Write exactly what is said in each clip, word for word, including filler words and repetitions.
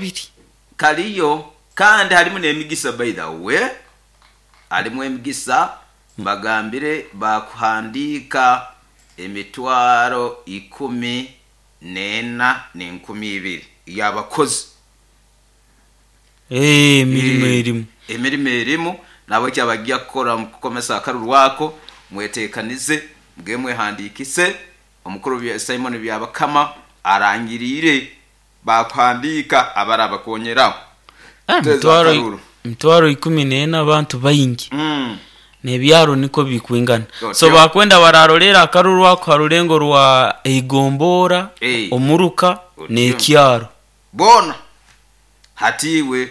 Biri. Kaliyo kandi harimu n'emigisa. By the way, harimu emigisa. Bagambire bakuhandiika emitwaro ikumi n'ena n'enkumi ibiri y'abakozi. Eh, emirimo erimu. Emirimo erimu, nabo kyabajja kukora mu kukomesa akaruru ako. Mwetekanize, muge mwehandikise. Omukuru bya- Simon Byabakama arangiriire bakuhandiika abarabakonyeraho. Ah, Teeza mitwaro akaruru. Mitwaro ikumi n'ena, abantu baingi Mm. n'ebyaro niko bikwingana. Otyo. So bakwenda bararolera akaruru ako ha rulengo rwa eigombora, Eh. omuruka Otyo. n'ekyaro. Bona hatiwe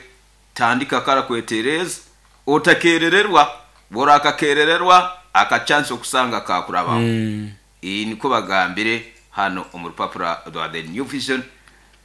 tandika kara kwetereza, otakerererwa. Bora akakerererwa, akachansi okusanga kakurabaho. Mm. Iyi niko bagambire hano omu rupapura rwa The New Vision,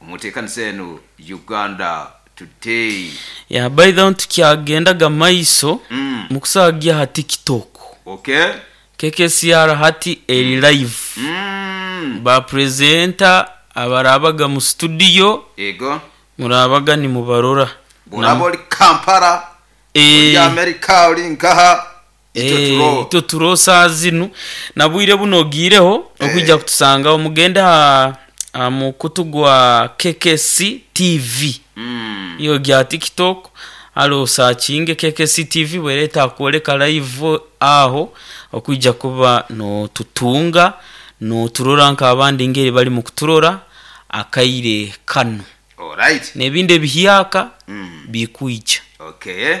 umutekanisa enu Uganda Today. Ya, by the way, tukyagendaga maiso, mm. mukusagya ha TikTok, okay K K C R hati eri live. mm. Ba presenter abarabaga mu studio, ego murabaga nimubarora. Buraba ori Kampala, Eh, ori Amerika, ori nkaha, itwe Eh, turo itwe turo saa zinu nabwire buno ogiireho okwijja kutusangaho. Mugende ha, ha mukutu gwa K K C T V, mm. iyo gya TikTok. Alo osakinge K K C T V, bwereta akwoleka live aho, okwijja kuba notutunga noturora nk'abandi ngeri bali mu kuturora akaire kano. Alright. N'ebindi ebihyaka mm. bikwija. Okay,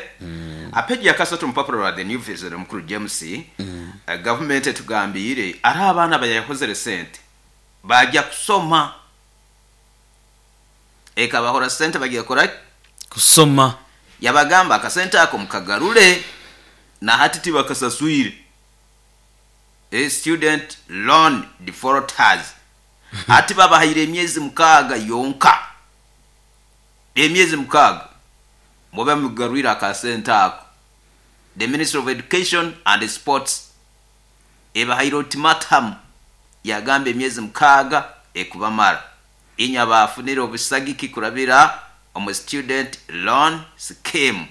apeji ya kasatu mupapuro rwa The New Vision, mukuru James, mm. uh, gavumenti etugambire ari abaana bayahozere sente bajya kusoma, ekabahora sente bagiye kora. Kusoma. Yabagamba akasente ako mukagarule, na hati tibakasaswire. A student loan defaulters, ati babahayire emyezi mukaaga yonka, emyezi mukaaga mube mugarwire akasente ako. The Ministry of Education and Sports ebahaire ultimatum, yagamba emyezi mukaaga ekubamara inya bafunire obusagiki kurabira omu student loan scheme.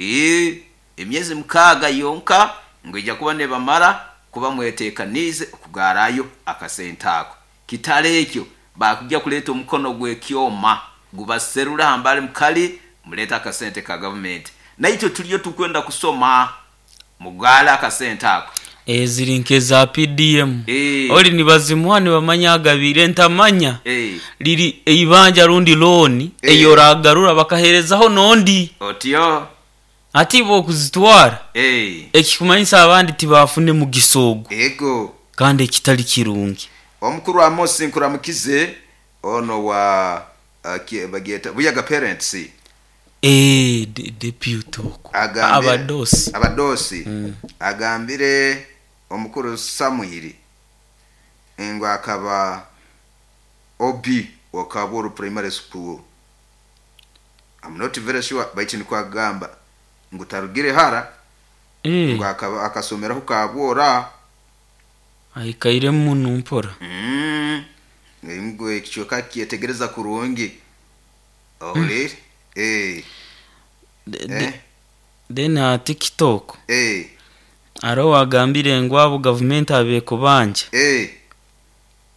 Ee, emyezi mukaaga yonka ngwijja kuba nebamara kuba mwetekanize okugarayo akasente ako. Kitale ekyo bakujja kuleeta omukono gw'ekyoma gubaserura hambali mukali muleeta akasente ka gavumenti, naitwe tuliyo tukwenda kusoma, mugale akasente ako. Eziri nk'eza P D M. Eh. Oli nibazimuha nibamanya agabire ntamanya Eh, liri eibanja rundi looni Eh. eyoragarura bakaherezaho nondi. Otyo. Ati bo okuzitwara, Eh, ekikumanyisa abandi tibafune mugisa ogwo. Ego. Kandi ekitali kirungi. Omukuru Amosi, nkuramukize. Ono wa uh, ki- bagyeta Buyaga Parents. Eh, de- deputy okwo. Agambire abadosi. Abadosi. Agambire omukuru Samuhiri ngo akaba obi wakaburu Primary School. I'm not very sure, baitu nikwo agamba ngu tarugire hara. Eh, ngo akaba akasomeraho Kabwora. Aikaire munu mpora. Mm. Ngo ekicweka kyetegereza kurungi ohulire eh De- eh de- then ha TikTok, eh aro wagambire ngu abo gavumenti abekubanja eh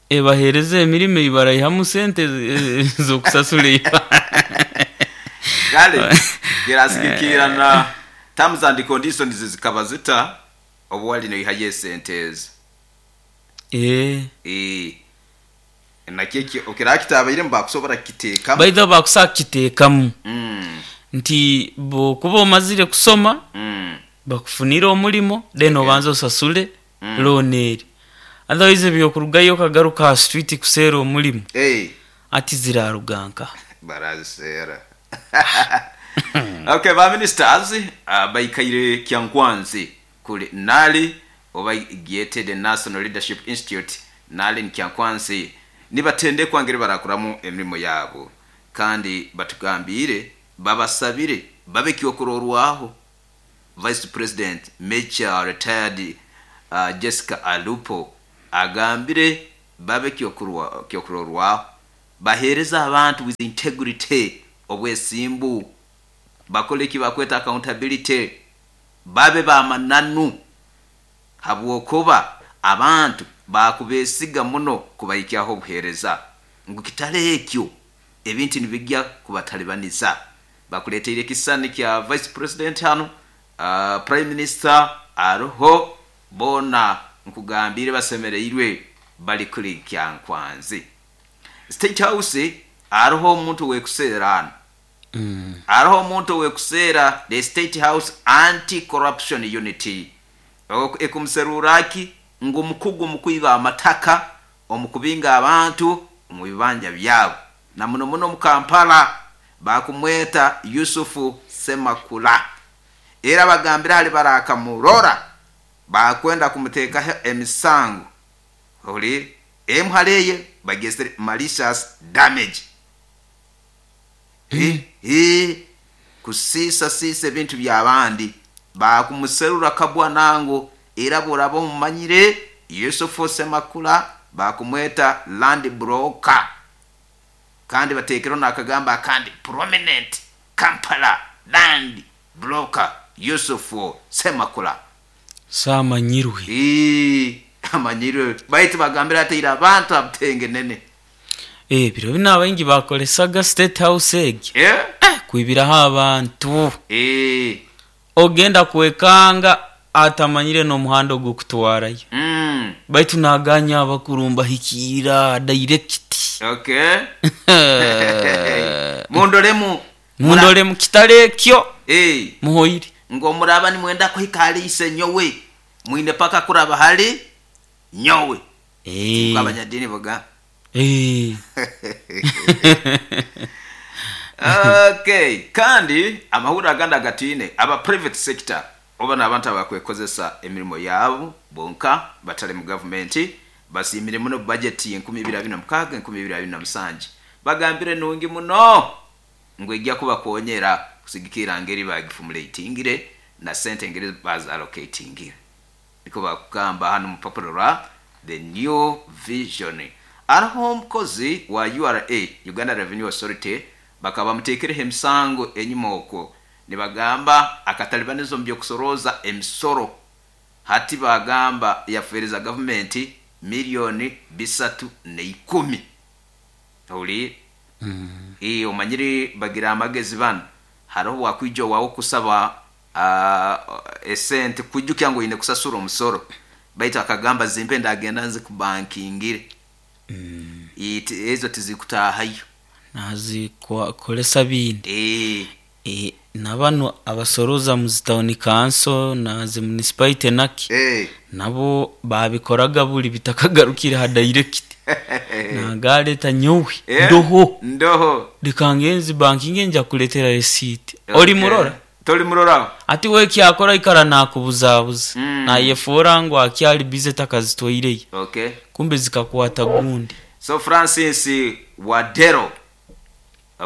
ebahereza emirimo eibarayihamu sente eh, z'okusasula eiba. Kale birasigikirana terms and conditions zikaba zita obu wali noihayo esente ezo. Eh, Eh, nakyo ekyo okiraba kitabaire mubakusobora kukiteekamu. Baitha bakusaa kukiteekamu Mm, nti bwokuba omazire kusoma, mm. bakufunire omulimo, then obanze osasule Mm. loan eri. Otherwise ebyokurugayo okagaruka ha street kuseera omulimo, Eh, ati ziraruga nka? Baraziseera. Okay, ba ministers uh, baikaire Kyankwanzi kuli nali oba gyete the National Leadership Institute nali ni Kyankwanzi, nibatendekwa ngeri barakuramu emirimo yabo, kandi batugambire babasabire babe kyokurorwaho. Vice President Major retired uh, Jessica Alupo agambire babe kyokurwa- kyokurorwaho. Bahereza abantu with integrity, obwesimbu, bakole eki bakweta accountability, babe bamananu, habwokuba abantu bakubesiga muno kubahikyaho obuhereza. Ngu kitale ekyo ebintu nibijja kubatalibaniza. Bakuleteire ekisani kya vice president hano, uh, prime minister aroho, bona nkugambire basemereirwe bali kuli Kyankwanzi. State House aroho omuntu wekuseera hano. Mm. Aroho omuntu wekuseera the State House Anti-Corruption Unit. Ekumuseruraki ngu mukugu mukwiba amataka, omukubinga abantu mu bibanja byabo, na muno muno mu Kampala bakumweta Yusufu Semakula. Era bagambira ali barakamurora bakwenda kumutekaho emisango oli emuhaleye bagesere malicious damage. Mm. E, kusisa sisa ebintu by'abandi bakumuserura kabwa nango. Era boraba omumanyire Yusufu Semakula bakumweta land broker, kandi batekero nakagamba kandi prominent Kampala land broker Yusufu Semakula. Samanyirwe. Eh, amanyirwe baitu bagambira ati ira abantu abutenge nene. Eh, biro bina abaingi bakolesaga State House egi. Eh? Eh, kwibiraho abantu. Eh. Ogenda kwekanga atamanyire n'omuhanda ogukutwarayo. Mm. Baitu naganya abakurumba hikira direct. Okay. Mundolemu. Mundolemu kitale kyo. Eh. Muhoire. Ngo muraba ni mwenda kuhika hali isenyowe. Mwine paka kuraba hali nyowe. Eh. Abanyadini boga. Eh. Okay, kandi amahura aganda gatine aba private sector oba n'abantu abakwekozesa emirimo yabo bonka batali mu government basimire muno budget enkumi ibiri abiri na mukaaga, enkumi ibiri abiri na musanju. Bagambire nungi muno ngwejja kubakonyera kusigikira ngeri bagifumulatingire na sente ngeri bazallocatingire. Niko bakugamba hano mu papuro rwa The New Vision. Araho omukozi wa U R A, Uganda Revenue Authority, bakaba bamuteekereho emisango enyuma okwo nibagamba akatalibanizo mu by'okusoroza emisoro. Hati bagamba yafereza gavumenti miliyoni bisatu neikumi. Owulire? Mm. Ee, omanyire bagira amagezi bano hariho wakwija owawe kusaba, uh, esente kwijukya ngu oyine kusasura omusoro, baitu akagamba zimpe ndagenda nzi kubankingire. Mm. Iti, ezo tizikutahayo. Nazikolesa bindi. Eh. Eh, nabano abasoroza mu town council na zi municipality naki. Eh. Nabo babikoraga buli bitakagarukira ha direct. Nagaleta nyowe. Eh. Ndoho. Ndoho. Likangenzi banking nja kuletera receipt. Okay. Oli murora? Toli murora. Ati we kyakora ikara nakubuzabuza. Mm. Na yefora ngo akyali busy takazitoireye. Okay. Kumbe zikakwata gundi. So Francis Wadero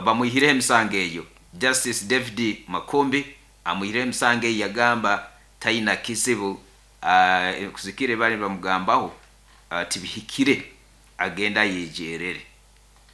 bamuhire emisango eyo. Justice David Makumbi amuhire emisango eyo yagamba taina kizibu, uh, kuzikire bali bamugambaho, uh, tibihikire agenda yejerere.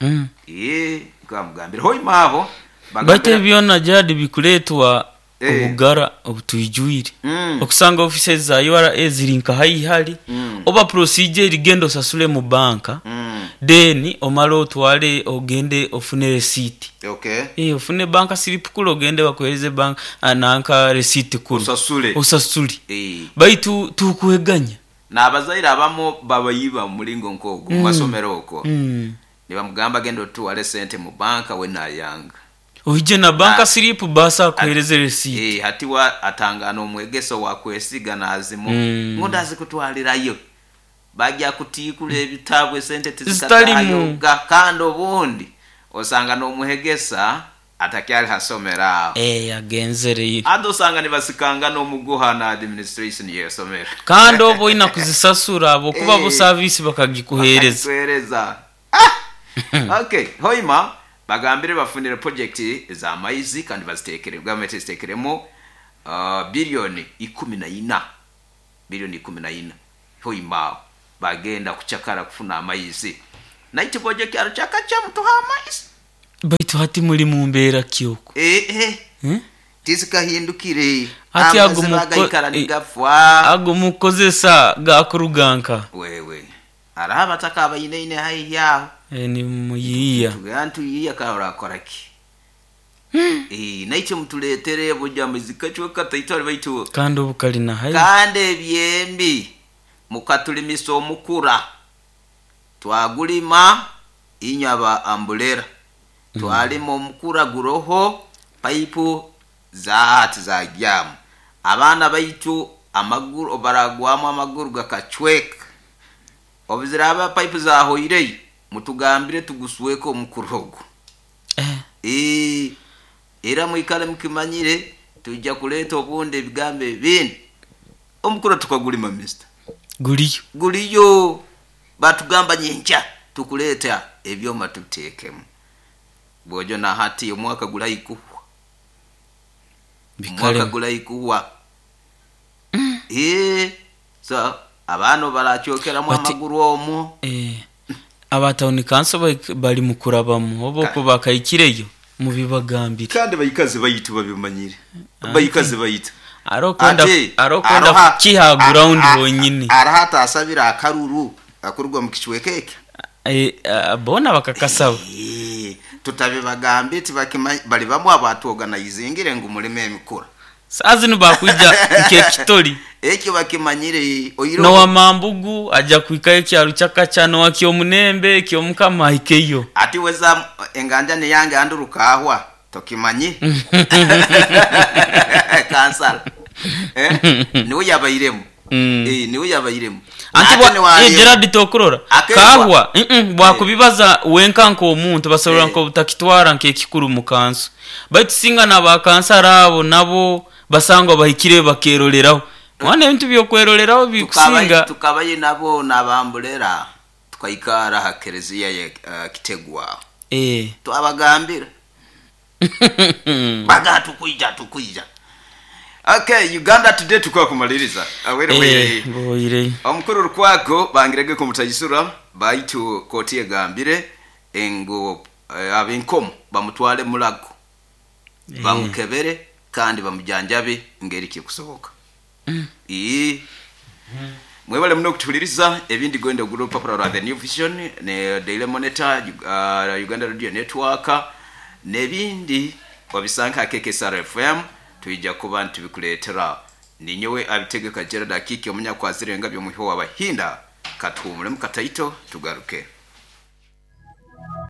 Mm. Eh, kamugambira hoimaho Bate byona jadi bikuletwa Eh. obugara obutwijwire. Mm. Okusanga offices za U R A ziri nka haihali. Mm. Oba procedure rigendo osasule mu banka. Mm. Then omala otwale ogende ofune receipt. Okay. Eh, ofune banka slip kulo ogende bakuhereze bank ananka receipt kulo. Osasule. Osasule. Eh. Baitu tukuheganya. Na abazaire abamo babayiba mulingo nkogo mm. masomero oko. Mm. Nibamugamba genda otwale sente mu banka we nayanga. Oije na banka Na- slip basa kuhereze receipt. Eh, hatiwa atangana omwegeso wa kwesiga nazimu. Mm. Ngo ndazikutwalirayo. Bajja kutikula ebitabo esente Zitalimu. tizikatayo kandi obundi osanga n'omuhegesa atakyali hasomera aho. Eh, agenzere. Ando osanga nibasikanga n'omuguha na administration y'esomero. Kandi obo oyina kuzisasura abo kuba Eh. bo service bakagikuhereza. Bakagikuhereza. Ah! Okay, hoima bagambire bafunire project za maizi kandi bazitekere government zitekeremo, uh, bilioni ikumi na ina. Bilioni ikumi na ina. Hoima bagenda kuchakara kufuna amaizi. Naite boje kyaro kyakacha mutuha amaizi. Baitu hati muri mu mbeera kyoko. Eh eh. Hmm? Tizikahindukire. Ati ago Amaizi muko- bagaikara eh, nigafwa. Ago mukozesa gakuruganka. Wewe. Araha abataka abayineine haihi aho. E, ni muyiya. Tugamba ntuyiya kaorakora ki? Eh, naite mutuletere buja amaizi kachweka taitwari baitu. Kandi obukali na haihi. Kandi ebyembi mukatulimisa omukura twagulima inyaba ambulera twalima omukura guroho paipu zaati zagyamu abaana baitu amaguru baragwamu amaguru gakacweka obuziraba paipu zahoireyo mutugambire tugusweke omukura ogwo. Eh. Eh, era mwikale mukimanyire tujja kuleeta obundi ebigambo ebindi. Omukura tukagulima mister. Guliyo. Guliyo. Batugamba nyenkya tukuleeta ebyoma tuteekemu. Bwojo na hati omwaka gulayikuhwa. Bikale. Omwaka gulayikuhwa. Mm. Eh, so abaana barakyokeramu Bati- amaguru omwo. Eh. Abatawuni kanso bari- bari mu kurabamu oba uko bakayikireyo mubibagambire. Kandi bayikazi bayitu babimanyire. Bayikazi bayitu. Arokwenda Ate, arokwenda aroha- kukiha ground a- a- honyine. Araha atasabira akaruru akurugwa mu kicweka eki. Eh, ah, bona bakakasaba. Eh, tutabibagambe tibakimanyi bali bamwe abatwoganayizingire ngu mulime emikura. Saa zino bakwija nk'ekitori. Ekyo bakimanyire oiro. Nowa mambugu ajja kwikayo ekyalo kyakacha nowa kyomunembe kyomukama ahikeyo. Ati weza enganja ne yange andurukahwa tokimanyi. Kansala. Eh? Niwe yabayiremu. Mm. Eh, niwe yabayiremu. Anti Ate bwa niwaleba. eh, Gerard tokurora. Akeebwa. Kahwa, mm -mm, bwakubibaza wenka nk'omuntu basobola Eh. nk'obutakitwara nk'ekikuru mu kanso. Baitu singa n'abakansara abo nabo basangwa bahikire bakeroleraho. Mwana ebintu byokweroleraho bikusinga. Tukabaye nabo nabambulera tukaikara ha kereziya ya uh, Kitegwa. Eh. Twabagambira. Baga tukuija tukuija. Okay, Uganda Today tukwa kumaliriza. Awere Eh, were. boyire. Omukuru Lukwago bangirege kumutayisura baitu koti egambire engo eh, ab'enkomo bamutwale mulago. Eh. Bamukebere kandi bamujanjabe ngeri kikusoboka. Mm. Ee. Mwebale muno kutuhuliriza ebindi gwende ogula olupapula lwa The New Vision ne Daily Monitor, uh, Uganda Radio Network n'ebindi wabisanga K K S R F M tuija kuba ntibikuleetera. Ninyowe abitegeka Gerard Akiki omunyakwazirenga by'omuhiho w'Abahinda katuhumulemu kataito tugaruke.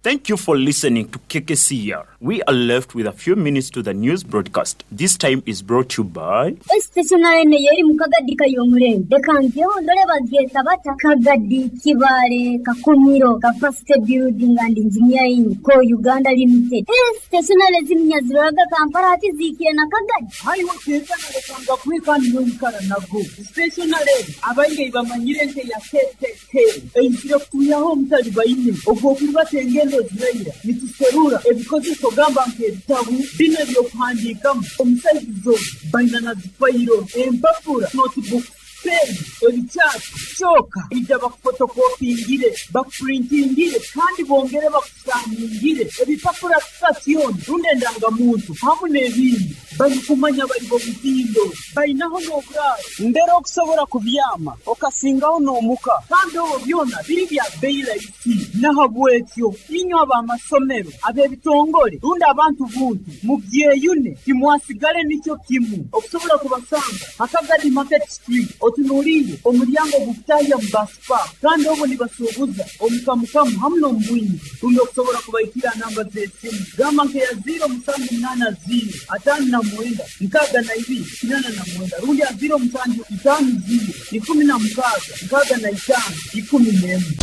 Thank you for listening to K K C R. We are left with a few minutes to the news broadcast. This time is brought to you by Stationary ne yeri mukagadi kayomurembe. Reka ndore bagyeta bata Kagadi Kibale Kakumiro Capacity Building and Engineering Co Uganda Limited. Eh, stationary ziminyaziraga Kampala ati zikire na Kagadi. Hariho stationary kanga kwika niyo nago. Stationary abaingi bamanyire nte ya K K K. Eyisire kuyaho omutali bayine. Ogwo kubatengendo ziraira nituserura ebikozeso gamba nk'ebitabu bino ebyokuhandiikamu omusaizizo baina na zifayiro empapura notebook pen ebikyapa kyoka ija bakufotokopingire bakupurintingire kandi bongere bakusaningire ebipapura sitasioni rundi endangamuntu hamu n'ebindi barikumanya bari bo mutindo bainaho n'oburaaro mbere okusobola kubyama okasingaho n'omuka kandi obwo byona biri bya bbeeyi rahisi nahabwekyo inywe ab'amasomero ab'ebitongole rundi abantu buntu mubyeyune timwasigale nikyo kimu okusobola kubasanga Akagadi Market Street otunuulire omulyango gukutahya mu basipa kandi obwo nibasuubuza omukamukamu hamu n'omubwingi rundi okusobola kubaikira namba z'esimu gamba nkeya ziro musanju munaana ziro ataano na mwenda nkaaga na ibiri kinana na mwenda rundi ya ziro musanju itaano ziro ikumi na mukaaga nkaaga na itaano ikumi n'emwe.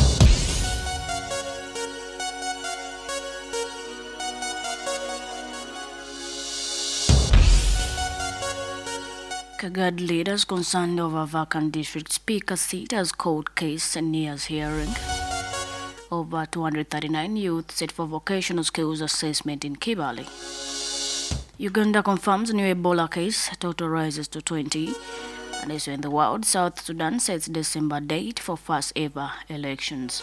Kagad leaders concerned over vacant district speaker seat as court case nears hearing. Over two hundred thirty-nine youth set for vocational skills assessment in Kibale. Uganda confirms new Ebola case, total rises to twenty. And also in the world, South Sudan sets December date for first ever elections.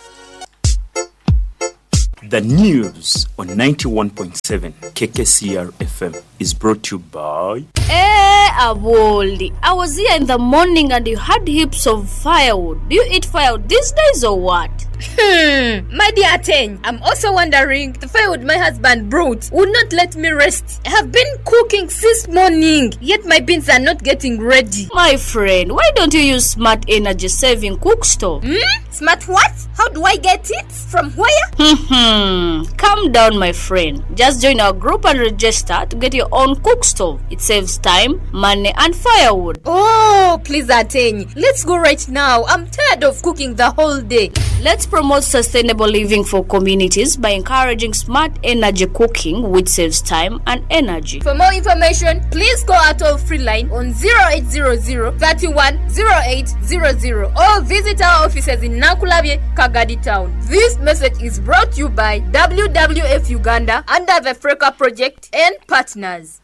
The news on ninety-one point seven K K C R F M is brought to you by... Hey, Aboli, I was here in the morning and you had heaps of firewood. Do you eat firewood these days or what? Hmm, my dear Ateng, I'm also wondering, the firewood my husband brought would not let me rest. I have been cooking since morning, yet my beans are not getting ready. My friend, why don't you use smart energy saving cook stove? Hmm? Smart what? How do I get it? From where? Hmm, calm down, my friend. Just join our group and register to get your own cook stove. It saves time, money, and firewood. Oh, please, Ateng, let's go right now. I'm tired of cooking the whole day. Let's promote sustainable living for communities by encouraging smart energy cooking, which saves time and energy. For more information, please call our toll-free line on zero eight zero zero, thirty-one, zero eight zero zero or visit our offices in Nankulabye, Kagadi Town. This message is brought to you by W W F Uganda under the FRECA project and partners.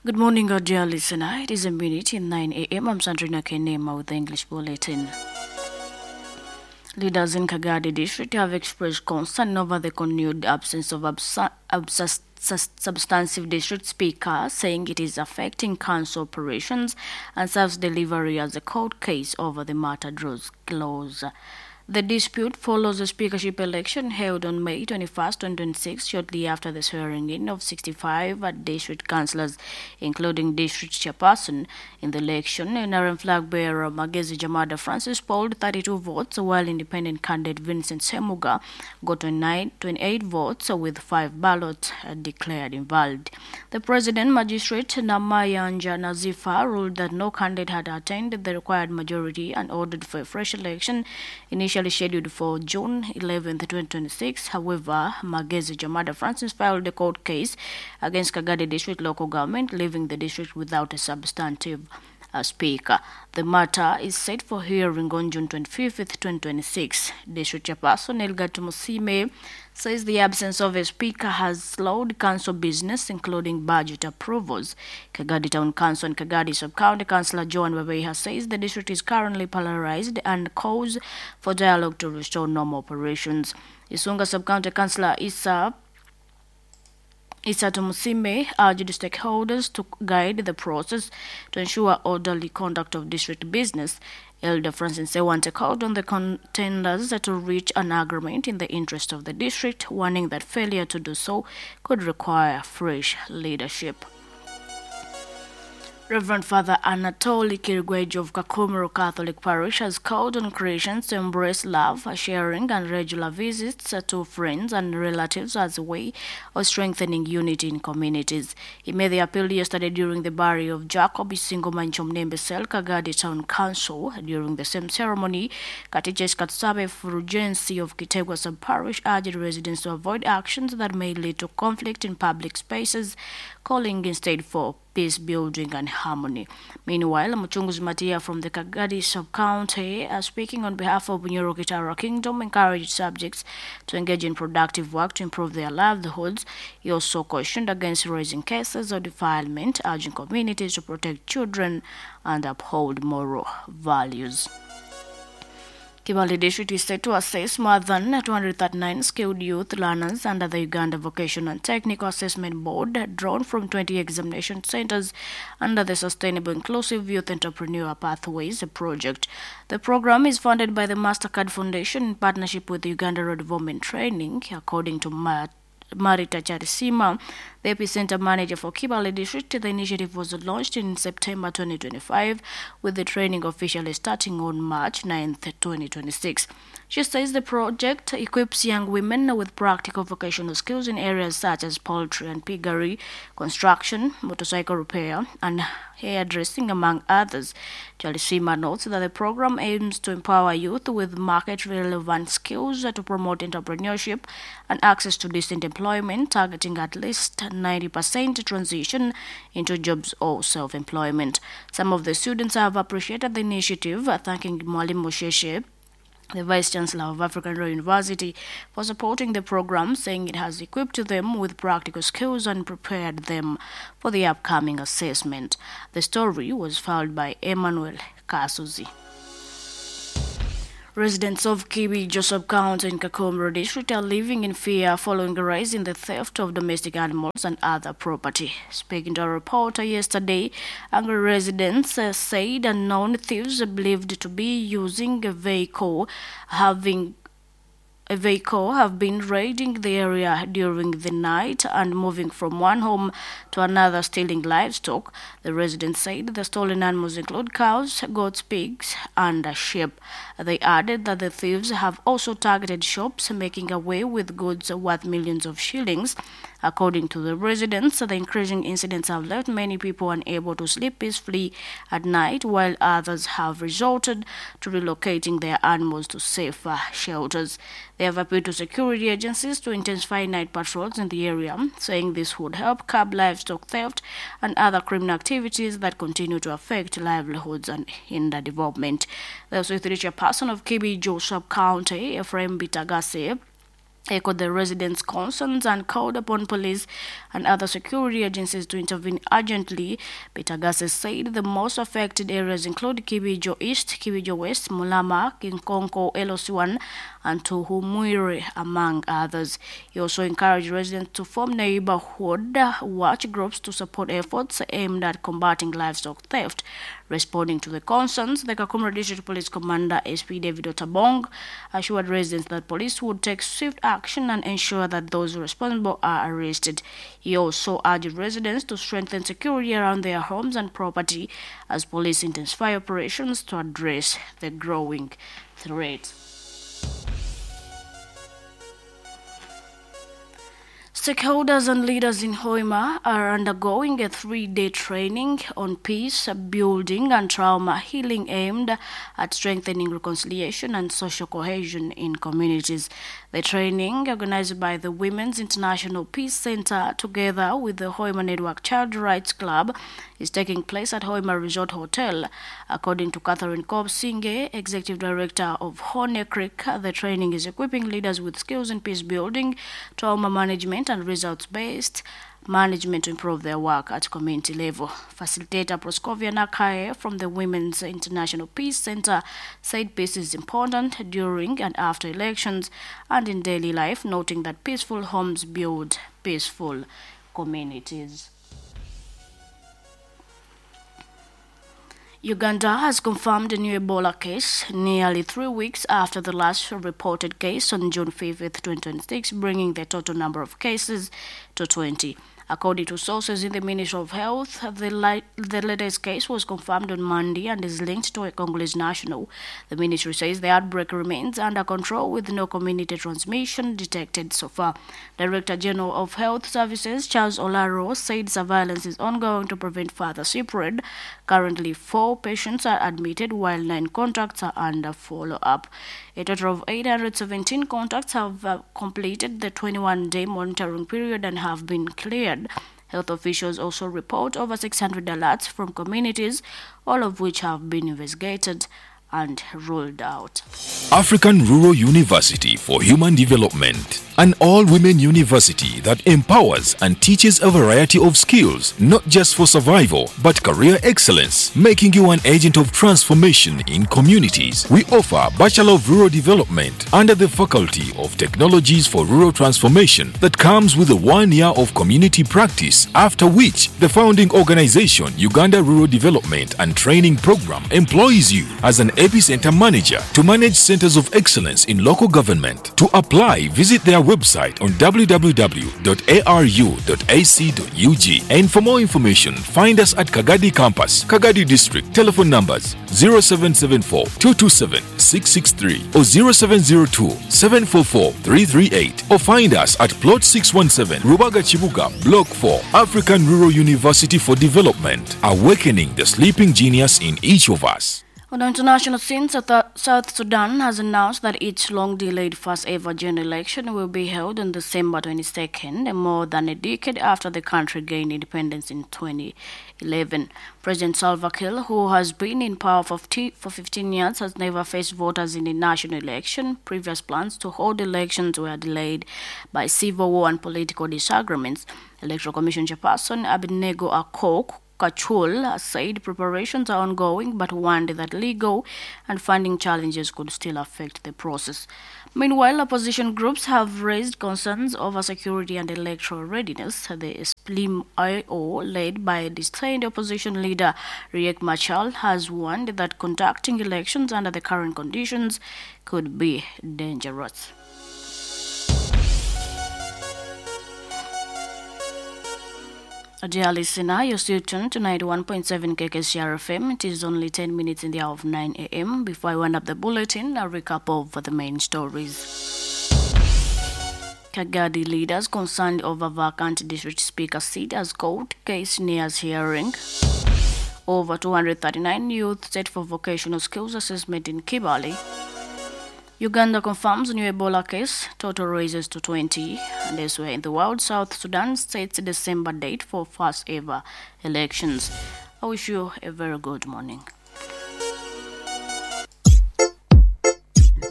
Good morning, our dear listener. It is a minute in nine a.m. I'm Sandrina Kenema with the English Bulletin. Leaders in Kagadi District have expressed concern over the continued absence of abs- abs- substantive district speaker, saying it is affecting council operations and service delivery as a court case over the matter draws close. The dispute follows a speakership election held on May twenty-first, twenty twenty-six, shortly after the swearing-in of sixty-five district councillors, including district chairperson. In the election, N R M flag bearer Magezi Jamada Francis polled thirty-two votes, while independent candidate Vincent Semuga got twenty-nine, twenty-eight votes, with five ballots declared invalid. The president, magistrate Namayanja Nazifa, ruled that no candidate had attained the required majority and ordered for a fresh election, initially scheduled for June eleventh, twenty twenty-six. However, Magezi Jamada Francis filed a court case against Kagadi District Local Government, leaving the district without a substantive uh, speaker. The matter is set for hearing on June twenty-fifth, twenty twenty-six. District Chairperson Elga Tumusime says the absence of a speaker has slowed council business, including budget approvals. Kagadi Town Council and Kagadi Sub-County Councillor Joan Babeha says the district is currently polarized and calls for dialogue to restore normal operations. Isunga Sub-County Councillor Issa Issa Tumusime urged stakeholders to guide the process to ensure orderly conduct of district business. Elder Francis Sewante called on the contenders to reach an agreement in the interest of the district, warning that failure to do so could require fresh leadership. Reverend Father Anatoly Kirigwejo of Kakumiro Catholic Parish has called on Christians to embrace love, sharing and regular visits to friends and relatives as a way of strengthening unity in communities. He made the appeal yesterday during the burial of Jacob Isingoma Nchomnembe Sel, Kagadi Town Council. During the same ceremony, Catechist Katsabe Furugensi of Kitegwa Sub-Parish urged residents to avoid actions that may lead to conflict in public spaces, calling instead for peace building and harmony. Meanwhile, Muchunguzi Matia from the Kagadi sub-county, uh, speaking on behalf of Bunyoro Kitara Kingdom, encouraged subjects to engage in productive work to improve their livelihoods. He also cautioned against raising cases of defilement, urging communities to protect children and uphold moral values. Kibale District is set to assess more than two hundred thirty-nine skilled youth learners under the Uganda Vocational and Technical Assessment Board, drawn from twenty examination centers under the Sustainable Inclusive Youth Entrepreneur Pathways project. The program is funded by the MasterCard Foundation in partnership with the Uganda Road Development Training, according to Matt Marita Charisima, the epicenter manager for Kibale District. The initiative was launched in September twenty twenty-five, with the training officially starting on March ninth, twenty twenty-six. She says the project equips young women with practical vocational skills in areas such as poultry and piggery, construction, motorcycle repair, and hairdressing, among others. Charisima notes that the program aims to empower youth with market-relevant skills to promote entrepreneurship and access to decent employment, targeting at least ninety percent transition into jobs or self-employment. Some of the students have appreciated the initiative, thanking Mwalimu Sheshe, the Vice Chancellor of African Royal University, for supporting the program, saying it has equipped them with practical skills and prepared them for the upcoming assessment. The story was filed by Emmanuel Kasuzi. Residents of Kibijo Sub-County in Kakumiro District are living in fear following a rise in the theft of domestic animals and other property. Speaking to a reporter yesterday, angry residents uh, said unknown thieves believed to be using a vehicle having a vehicle have been raiding the area during the night and moving from one home to another, stealing livestock. The residents said the stolen animals include cows, goats, pigs, and sheep. They added that the thieves have also targeted shops, making away with goods worth millions of shillings. According to the residents, the increasing incidents have left many people unable to sleep peacefully at night, while others have resorted to relocating their animals to safer shelters. They have appealed to security agencies to intensify night patrols in the area, saying this would help curb livestock theft and other criminal activities that continue to affect livelihoods and hinder development. The Authority Chairperson of Kibijo Sub-County, Ephraim Bitagase, echoed the residents' concerns and called upon police and other security agencies to intervene urgently. Bitagase said the most affected areas include Kibijo East, Kibijo West, Mulama, Kinkonko, L O C one, and Tuhumwire, among others. He also encouraged residents to form neighborhood watch groups to support efforts aimed at combating livestock theft. Responding to the concerns, the Kakumiro District Police Commander S P David Otabong assured residents that police would take swift action and ensure that those responsible are arrested. He also urged residents to strengthen security around their homes and property as police intensify operations to address the growing threat. Stakeholders and leaders in Hoima are undergoing a three-day training on peace, building and trauma healing aimed at strengthening reconciliation and social cohesion in communities. The training, organized by the Women's International Peace Center together with the Hoima Network Child Rights Club, is taking place at Hoima Resort Hotel. According to Catherine Kobsinge, Executive Director of Hone Creek, the training is equipping leaders with skills in peace building, trauma management, and results-based management to improve their work at community level. Facilitator Proscovia Nakae from the Women's International Peace Center said peace is important during and after elections and in daily life, noting that peaceful homes build peaceful communities. Uganda has confirmed a new Ebola case nearly three weeks after the last reported case on June fifth, twenty twenty-six, bringing the total number of cases to twenty. According to sources in the Ministry of Health, the, li- the latest case was confirmed on Monday and is linked to a Congolese national. The ministry says the outbreak remains under control with no community transmission detected so far. Director General of Health Services Charles Olaro said surveillance is ongoing to prevent further spread. Currently, four patients are admitted while nine contacts are under follow-up. A total of eight hundred seventeen contacts have uh, completed the twenty-one day monitoring period and have been cleared. Health officials also report over six hundred alerts from communities, all of which have been investigated and ruled out. African Rural University for Human Development, an all-women university that empowers and teaches a variety of skills, not just for survival, but career excellence, making you an agent of transformation in communities. We offer Bachelor of Rural Development under the Faculty of Technologies for Rural Transformation that comes with a one year of community practice, after which the founding organization, Uganda Rural Development and Training Program, employs you as an epicenter manager to manage centers of excellence in local government. To apply, visit their website on w w w dot a r u dot a c dot u g. And for more information, find us at Kagadi Campus, Kagadi District. Telephone numbers zero seven seven four, two two seven, six six three or zero seven zero two, seven four four, three three eight, or find us at Plot six one seven, Rubaga Chibuga, Block four, African Rural University for Development, awakening the sleeping genius in each of us. On the international scene, South Sudan has announced that its long-delayed first-ever general election will be held on December twenty-second, more than a decade after the country gained independence in twenty eleven. President Salva Kiir, who has been in power for fifteen years, has never faced voters in a national election. Previous plans to hold elections were delayed by civil war and political disagreements. Electoral Commission Chairperson Abednego Akok Kachol said preparations are ongoing but warned that legal and funding challenges could still affect the process. Meanwhile, opposition groups have raised concerns over security and electoral readiness. The Splim I O, led by detained opposition leader Riek Machar, has warned that conducting elections under the current conditions could be dangerous. Dear listener, you're still tuned to ninety-one point seven K K C R F M. It is only ten minutes in the hour of nine A M. Before I wind up the bulletin, a recap of the main stories. Kagadi leaders concerned over vacant district speaker seat as court case nears hearing. Over two hundred thirty-nine youth set for vocational skills assessment in Kibali. Uganda confirms new Ebola case, total raises to twenty. And elsewhere in the world, South Sudan sets December date for first ever elections. I wish you a very good morning.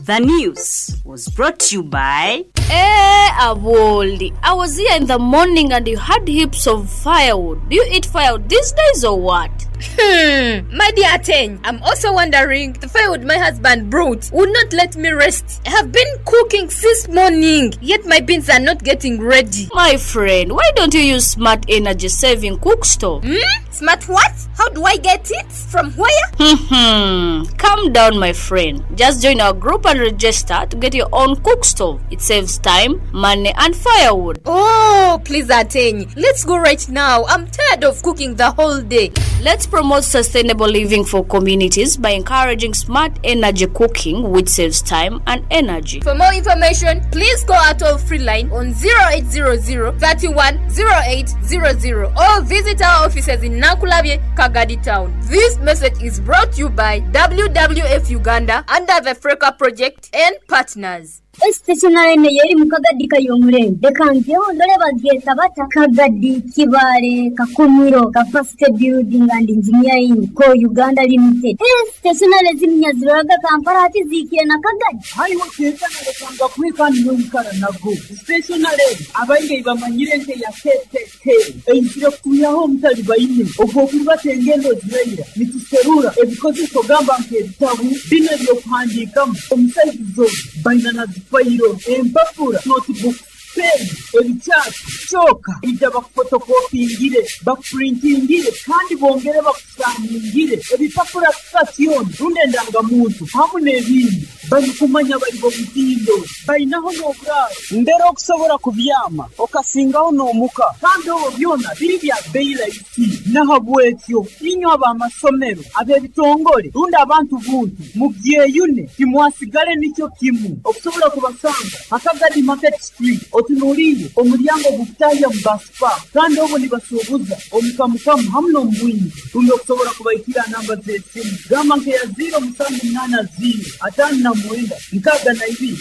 The news was brought to you by... Hey, Awoli, I was here in the morning and you had heaps of firewood. Do you eat firewood these days or what? Hmm, my dear Ateng, I'm also wondering, the firewood my husband brought would not let me rest. I have been cooking since morning, yet my beans are not getting ready. My friend, why don't you use smart energy saving cook stove? Hmm? Smart what? How do I get it? From where? Hmm, calm down, my friend. Just join our group and register to get your own cook stove. It saves time, money, and firewood. Oh, please, Ateng, let's go right now. I'm tired of cooking the whole day. Let's promote sustainable living for communities by encouraging smart energy cooking, which saves time and energy. For more information, please call our toll-free line on zero eight zero zero, thirty-one, zero eight zero zero or visit our offices in Nakulabye, Kagadi Town. This message is brought to you by W W F Uganda under the Freka Project and partners. Stationary ne yeri mu Kagadi kayomurembe reka njeho ndore bagyeta bata Kagadi Kibale Kakumiro Capacity Building and Engineering ko Uganda Limited. Stationary zimnyaziroga Kampala ati zikire na Kagadi haiwo kekana lekanga kwikani n'oyikara nago stationary abainge bamanyire nke ya K K K eizire kutuyaho omutali baine ogwo batengendo ziraira nituserura ebikozeso gamba nk'ebitabu bino ebyokuhandiikamu omusaizizo baina na fayiro, empapura, notebook, pen, ebikyapa, kyoka ija bakufotokopingire, bakupurintingire kandi bongere bakusaningire ebipapura sitasioni rundi endangamuntu hamu n'ebindi barikumanya bari bomutindo bainaho n'oburaro ndero okusobora kubyama okasingaho n'omuka kandi obwo byona biri bya beyi rahisi nahabwekyo inywe ab'amasomero ab'ebitongole rundi abantu buntu mubyeyune timwasigale nikyo kimu okusobola kubasanga Akagadi Market Street otunuulire omulyango gukutahya mu baspa kandi obwo nibasuubuza omukamukamu hamu n'omubwingi rundi okusobola kubaikira namba z'esimu gamba nkeya ziro musanvu munaana ziro ataano na mwenda nkaaga na ibiri